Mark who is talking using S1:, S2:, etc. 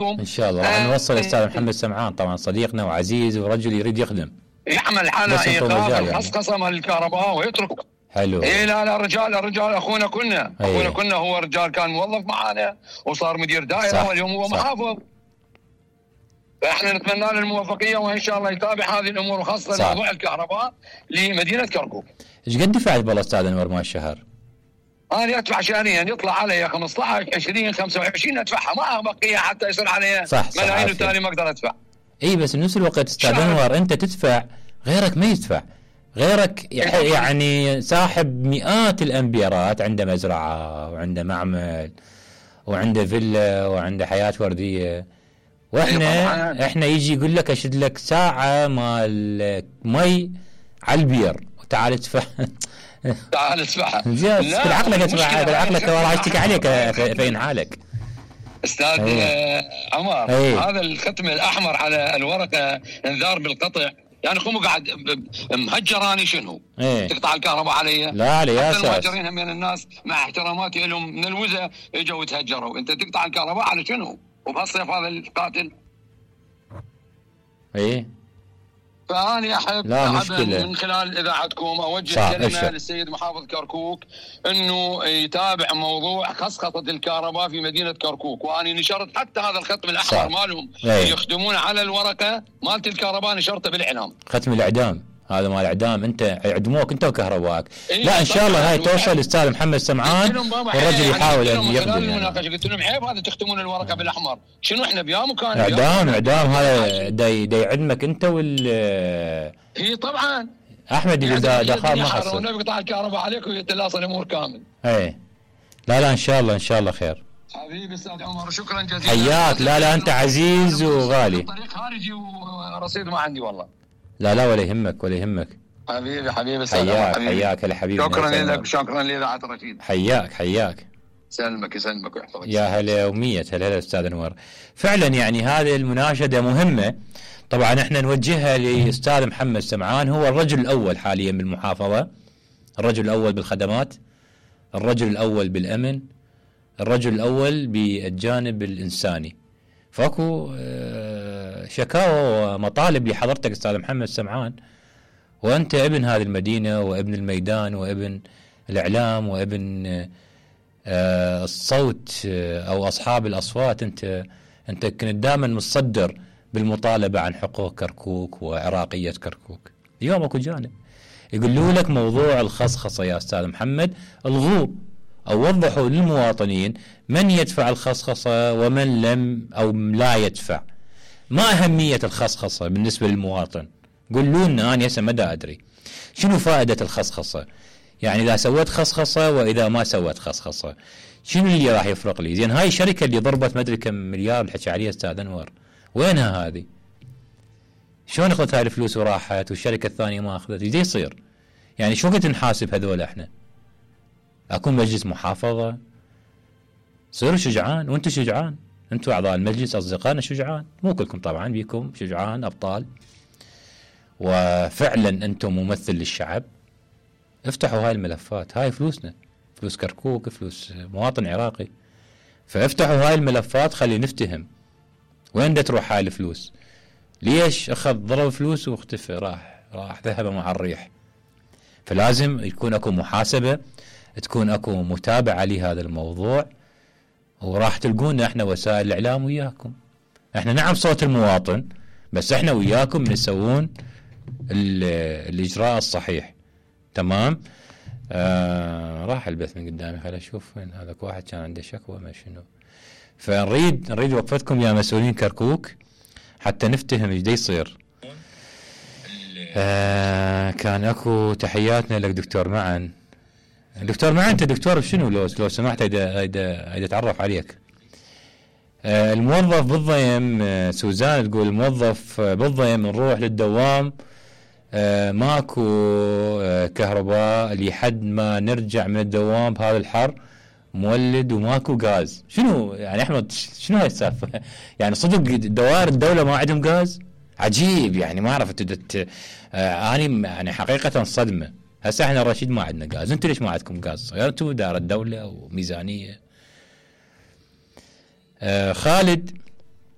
S1: ان شاء الله راح نوصل الاستاذ محمد سمعان، طبعا صديقنا وعزيز ورجل يريد يخدم،
S2: يعمل حالة ايقاف الخصخصه مال الكهرباء ويترك.
S1: حلو.
S2: لا الرجال اخونا كنا هو رجال كان موظف معانا وصار مدير دائره واليوم هو محافظ. فاحنا نتمنى له الموفقيه وان شاء الله يتابع هذه الامور وخاصه موضوع الكهرباء لمدينه كركوك.
S1: ايش قد دفعت بالله استاذ انور مال الشهر؟
S2: انا ادفع شهريا يطلع علي 15 20 25 ادفعها، ما بقيه حتى يصير علي ملايين وتالي ما اقدر ادفع.
S1: اي بس بنفس الوقت استاذ انور انت تدفع غيرك ما يدفع، غيرك يعني ساحب مئات الامبيرات، عنده مزرعه وعنده معمل وعنده فيلا وعنده حياه ورديه، واحنا يجي يقول لك اشد لك ساعه مال مي على البير وتعال ادفع.
S2: تعال ادفع
S1: بالعقلك ادفع، بالعقلك راح اشتكي عليك فين حالك
S2: استاذ عمر. هذا الختم الاحمر على الورقه انذار بالقطع، يعني قوم قاعد مهجراني شنو؟ تقطع الكهرباء علي؟
S1: لا على اساس
S2: المهجرين هم من الناس مع احتراماتي لهم من الوزه اجوا وتهجروا، انت تقطع الكهرباء على شنو؟ وبهالصيف هذا القاتل. فأنا أحب من خلال إذاعتكم أوجه كلمة للسيد محافظ كركوك أنه يتابع موضوع خصخصة الكهرباء في مدينة كركوك، وأنا نشرت حتى هذا الختم الأحمر مالهم يخدمون على الورقة مالت الكهرباء، نشرته بالإعلام.
S1: ختم الإعدام هذا مال اعدام، انت يعدموك انت وكهربائك. لا ان شاء الله هاي توصل للاستاذ محمد سمعان والرجل يحاول ان يخدم.
S2: المناقشه قلت لهم عيب هذا تختمون الورقه بالاحمر، شنو احنا بيام وكان
S1: اعدام هذا دا يعدمك انت
S2: اي طبعا
S1: احمد اذا دخل ما خسر
S2: والنبي يقطع الكهرباء عليك ويتلاصى الامور كامل.
S1: لا ان شاء الله خير
S2: حبيبي استاذ عمر، شكرا جزيلا.
S1: حياك. لا انت عزيز وغالي.
S2: طريق خارجي ورصيد ما عندي والله.
S1: لا ولا يهمك
S2: حبيبي
S1: حياك هلا حبيبي.
S2: شكرا لك، شكرا لإذاعة رشيد.
S1: حياك
S2: سلمك ويحفظك.
S1: يا هلا ومية هلا استاذ انور. فعلا يعني هذه المناشدة مهمة، طبعا احنا نوجهها لاستاذ محمد سمعان، هو الرجل الاول حاليا بالمحافظة، الرجل الاول بالخدمات، الرجل الاول بالامن، الرجل الاول بالجانب الانساني. فاكو شكاوى ومطالب لحضرتك استاذ محمد سمعان، وانت ابن هذه المدينه وابن الميدان وابن الاعلام وابن الصوت او اصحاب الاصوات، انت كنت دائما متصدر بالمطالبه عن حقوق كركوك وعراقيه كركوك. اليوم اكو جانب يقولوا لك موضوع الخصخصه يا استاذ محمد الغوه، أو وضحوا للمواطنين من يدفع الخصخصة ومن لم أو لا يدفع. ما أهمية الخصخصة بالنسبة للمواطن؟ قولوا لنا، أنا هسه ما أدري شنو فائدة الخصخصة، يعني إذا سويت خصخصة وإذا ما سويت خصخصة شنو اللي راح يفرق لي؟ زين هاي الشركة اللي ضربت ما أدري كم مليار اللي حكى عليها أستاذ أنور، وينها هذه؟ شلون أخذت هاي الفلوس وراحت والشركة الثانية ما أخذت؟ إيش يصير؟ يعني شو وقت نحاسب هذول احنا؟ اكون مجلس محافظه؟ صيروا شجعان، وانتم شجعان، انتم اعضاء المجلس اصدقائنا شجعان، مو كلكم طبعا، بيكم شجعان ابطال وفعلا انتم ممثل للشعب. افتحوا هاي الملفات، هاي فلوسنا، فلوس كركوك، فلوس مواطن عراقي، فافتحوا هاي الملفات خلي نفتهم وين دا تروح هاي الفلوس. ليش اخذ ضرب فلوس واختفى، راح ذهب مع الريح. فلازم يكون اكو محاسبه، تكون اكو متابعه لهذا الموضوع، وراح تلقونا احنا وسائل الاعلام وياكم. احنا نعم صوت المواطن، بس احنا وياكم نسوون الاجراء الصحيح. تمام. راح البث من قدامي، خليني اشوف وين هذاك واحد كان عنده شكوى ما شنو. فنريد وقفتكم يا مسؤولين كركوك حتى نفتهم ايش دا يصير. كان اكو تحياتنا لك دكتور معن. دكتور معن، انت دكتور بشنو لو سمحت هيدا اتعرف عليك. الموظف بالضيم، سوزان تقول الموظف بالضيم نروح للدوام ماكو كهرباء لحد ما نرجع من الدوام بهذا الحر مولد وماكو غاز. شنو يعني احمد، شنو هاي السالفه؟ يعني صدق دوائر الدوله ما عندهم غاز؟ عجيب، يعني ما عرفت. اني يعني حقيقه صدمه. هسه احنا الرشيد ما عندنا غاز، انتم ليش ما عندكم غاز؟ غيرتوا دار الدوله وميزانيه. خالد